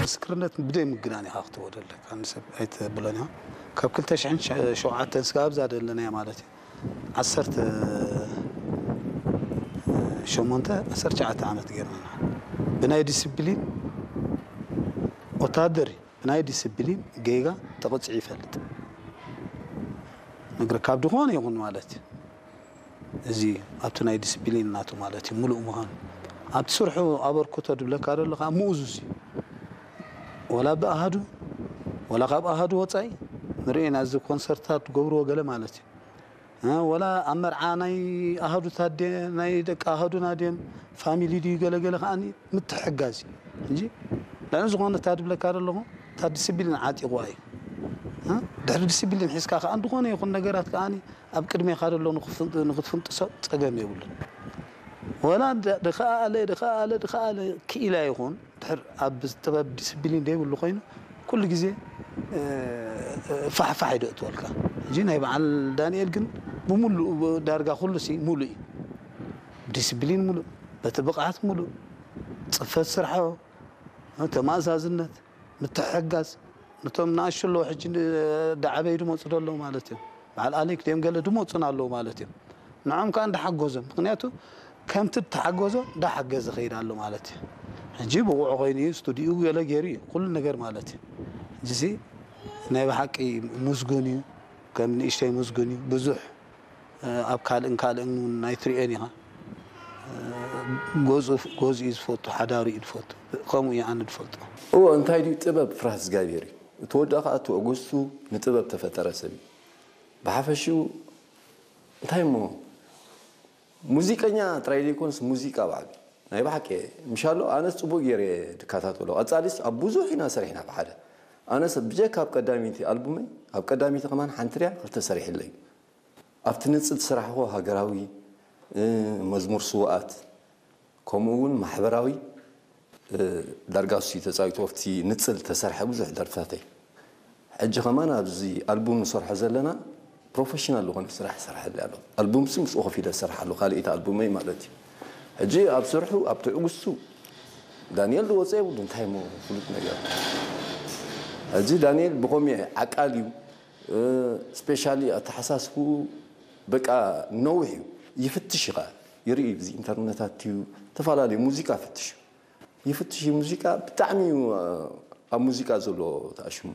ምስክርነት ብደይ ምግናን ኢኻ ክትወደለካ ንሰብ ኣይተብሎን ኢኻ። ካብ ክልተ ሽሕን ሸውዓተን ስጋብ እዛ ደለናያ ማለት እዩ። ዓሰርተ ሸሞንተ ዓሰርተ ትሽዓተ ዓመት ገይርና ኢና። ብናይ ዲስፕሊን ወታደር እዩ። ብናይ ዲስፕሊን ጌጋ ተቐጺዑ ይፈልጥ። ነግረ ካብ ድኾነ ይኹን ማለት እዩ። እዚ ኣብቲ ናይ ዲስፕሊን ናቱ ማለት እዩ፣ ምሉእ ምዃኑ። ኣብቲ ስርሑ ኣበርክቶ ድብለካ ደሎ ከዓ ምኡዙዝ እዩ። ወላ ብኣሃዱ፣ ወላ ካብ ኣሃዱ ወጻኢ ንርእና እዚ ኮንሰርታት ትገብርዎ ገለ ማለት እዩ። እ፣ ወላ ኣብ መርዓ ናይ ኣሃዱታት ድየ፣ ናይ ደቂ ኣሃዱና ድዮም፣ ፋሚሊ ድዩ ገለገለ ከዓኒ ምትሕጋዝ እዩ እንጂ፣ ልዕሊ ዝኾነ እታ ድብለካ ደለኹ፣ እታ ዲስፕሊን ዓጢቕዋ እዩ። እ፣ ድሕሪ ዲስፕሊን ሒዝካ ከኣ እንድኾነ ይኹን ነገራት ከዓኒ ኣብ ቅድሜኻ ደሎ ንኽፍን-፣ ንኽትፍንጥሶ ጸገም የብሉን። ወላ ድ-፣ ድኸኣለ፣ ድኸኣለ፣ ድኸኣለ ክኢላ ይኹን፣ ድሕር ኣብ ጥበብ ዲስፕሊን ዘይብሉ ኮይኑ፣ ኩሉ ግዜ፣ እ፣ ፋሕፋሕ እዩ ደእትወልካ። ሕጂ ናይ በዓል ዳንኤል ግን ብምሉእ፣ ዳርጋ ኩሉ ሲ ሙሉእ እዩ። ዲስፕሊን ሙሉእ፣ በቲ ብቕዓት ሙሉእ፣ ጽፈት ስርሖ፣ ተማእዛዝነት፣ ምትሕግጋዝ፣ ነቶም ንኣሽቱ ኣለዉ ሕጂ ን-፣ ዳዓበዩ ድመጹ ዶ ኣለዉ ማለት እዮም። በዓል ኣሌክ ድዮም ገለ ድመጹን ኣለዉ ማለት እዮም። ንዖም ከኣ እንዳሓገዞም፣ ምኽንያቱ ከምቲ እተሓገዞ እንዳሓገዘ ኸይድ ኣሎ ማለት እዩ። ሕጂ ብቑዕ ኾይኑ እዩ፣ ስቱዲኡ ገለ ገይሩ እዩ፣ ኩሉ ነገር ማለት እዩ። ሕጂሲ ናይ ብሓቂ ምስጉን እዩ፣ ከም ንእሽተይ ምስጉን እዩ። ብዙሕ፣ እ፣ ኣብ ካልእን ካልእን እውን ናይ ትሪኦን ኢኻ። እ፣ ገዝኡ፣ ገዝኡ እዩ ዝፈቱ፣ ሓዳሩ እዩ ዝፈቱ። ከምኡ እዩ ኣነ ዝፈልጦ። እዎ፣ እንታይ ድዩ ጥበብ? ፍርሃት እግዚኣብሔር እዩ። እቲ ወዲ ኸዓ ትዕግስቱ ንጥበብ ተፈጠረ ሰብ እዩ። ብሓፈሽኡ እንታይ እሞ ሙዚቀኛ ጥራይ ዘይኮነስ ሙዚቃ ባዕሉ ናይ ብሓቂ ምሻሎ ኣነስ ጽቡቅ ገይረ ድከታተሎ። ቀጻሊስ ኣብ ብዙሕ ኢና ሰሪሕና ብሓደ። ኣነስ ብጀካ ኣብ ቀዳሚቲ ኣልቡመይ፣ ኣብ ቀዳሚቲ ከማን ሓንቲ ድያ ክልተ ሰሪሕለይ። ኣብቲ ንጽል ዝሰራሕዎ ሃገራዊ፣ እ፣ መዝሙር ስውኣት፣ ከምኡ እውን ማሕበራዊ፣ እ፣ ዳርጋ እሱ እዩ ተጻዊቱ። ኣብቲ ንጽል ተሰርሐ ብዙሕ ደርፍታተይ። ሕጂ ከማን ኣብዚ ኣልቡም ንሰርሖ ዘለና ፕሮፌሽናል ዝኾነ ስራሕ ይሰርሐለይ ኣሎ። ኣልቡም ሲ ምስኡ ከፊለ ዝሰርሓሉ ካልኣይቲ ኣልቡመይ ማለት እዩ። ሕጂ ኣብ ስርሑ፣ ኣብ ትዕግስቱ ዳንኤል ዝወፀ የብሉ፣ እንታይ እሞ ፍሉጥ ነገር። ሕጂ ዳንኤል ብኸምኡ ዓቃል እዩ። እ፣ ስፔሻሊ ኣተሓሳስብኡ በቃ ነዊሕ እዩ። ይፍትሽ እዩ ኸዓ። ይርኢ እዩ፣ ብዚ ኢንተርነታት እዩ፣ ዝተፈላለዩ ሙዚቃ ፍትሽ እዩ። ይፍትሽ እዩ ሙዚቃ፣ ብጣዕሚ እዩ፣ እ፣ ኣብ ሙዚቃ ዘሎ ተኣሽሙ፣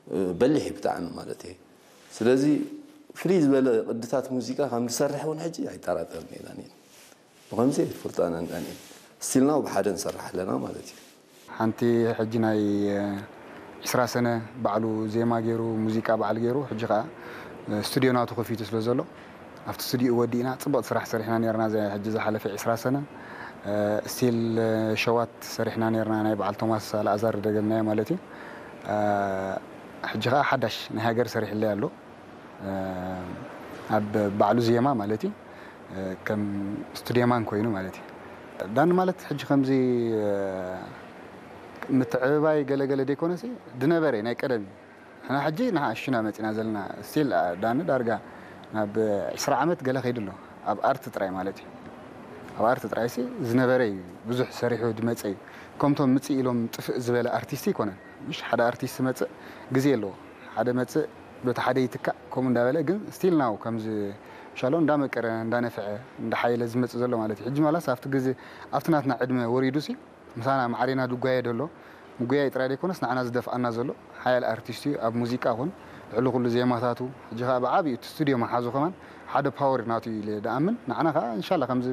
እ፣ በሊሕ እዩ ብጣዕሚ ማለት እየ። ስለዚ ፍልይ ዝበለ ቅድታት ሙዚቃ ከም ዝሰርሕ እውን ሕጂ ኣይጠራጠርን እየ ዳንኤል። ብኸምዚ እየ ዝፈልጦ ኣነ ንዳንኤል። ስቲል ናው ብሓደ ንሰርሕ ኣለና ማለት እዩ። ሓንቲ ሕጂ ናይ፣ እ፣ ዕስራ ሰነ ባዕሉ ዜማ ገይሩ፣ ሙዚቃ ባዕሉ ገይሩ፣ ሕጂ ኸዓ፣ እ፣ ስቱድዮ ናቱ ከፊቱ ስለ ዘሎ፣ ኣብቲ ስቱዲዮ ወዲእና ጽብቕቲ ስራሕ ሰሪሕና ነይርና። ዘ-፣ ሕጂ ዝሓለፈ ዕስራ ሰነ፣ እ፣ ስቲል፣ እ፣ ሸዋት ሰሪሕና ነይርና፣ ናይ በዓል ቶማስ ኣልኣዛር ደገምናዮ ማለት እዩ። እ፣ ሕጂ ኸዓ ሓዳሽ ናይ ሃገር ሰሪሕለይ ኣሎ። እ፣ ኣብ ባዕሉ ዜማ ማለት እዩ። እ፣ ከም ስቱድዮማን ኮይኑ ማለት እዩ። ዳኒ ማለት ሕጂ ከምዚ፣ እ፣ ምትዕብባይ ገለገለ ዘይኮነሲ፣ ድነበረ ናይ ቀደም እዩ። ንሕና ሕጂ ንሓሽና መጺና ዘለና፣ ስቲል ዳኒ ዳርጋ ናብ ዕስራ ዓመት ገለ ከይዱ ኣሎ። ኣብ ኣርት ጥራይ ማለት እዩ። ኣብ ኣርት ጥራይ ሲ ዝነበረ እዩ። ብዙሕ ሰሪሑ ዝመጸ እዩ። ከምቶም ምጽእ ኢሎም ጥፍእ ዝበለ ኣርቲስት ኣይኮነን። ምሽ ሓደ ኣርቲስት መጽእ ግዜ ኣለዎ። ሓደ መጽእ በቲ ሓደ ይትካእ፣ ከምኡ እንዳበለ ግን ስቲል ናው ከምዚ ሻሎ እንዳመቀረ፣ እንዳነፍዐ፣ እንዳሓየለ ዝመጽእ ዘሎ ማለት እዩ። ሕጂ ማላስ ኣብቲ ግዜ፣ ኣብቲ ናትና ዕድመ ወሪዱ ሲ ምሳና ማዕሬና ድጓየ ደሎ፣ ምጉያይ ጥራይ ዘይኮነስ ንዓና ዝደፍኣና ዘሎ ሓያል ኣርቲስት እዩ። ኣብ ሙዚቃ ኹን ልዕሊ ኩሉ ዜማታቱ፣ ሕጂ ኸዓ ብዓብዩ እቲ ስቱድዮ መሓዙ ከማን ሓደ ፓወር ናቱ እዩ ኢለ ድኣምን። ንዓና ኸዓ እንሻላ ከምዚ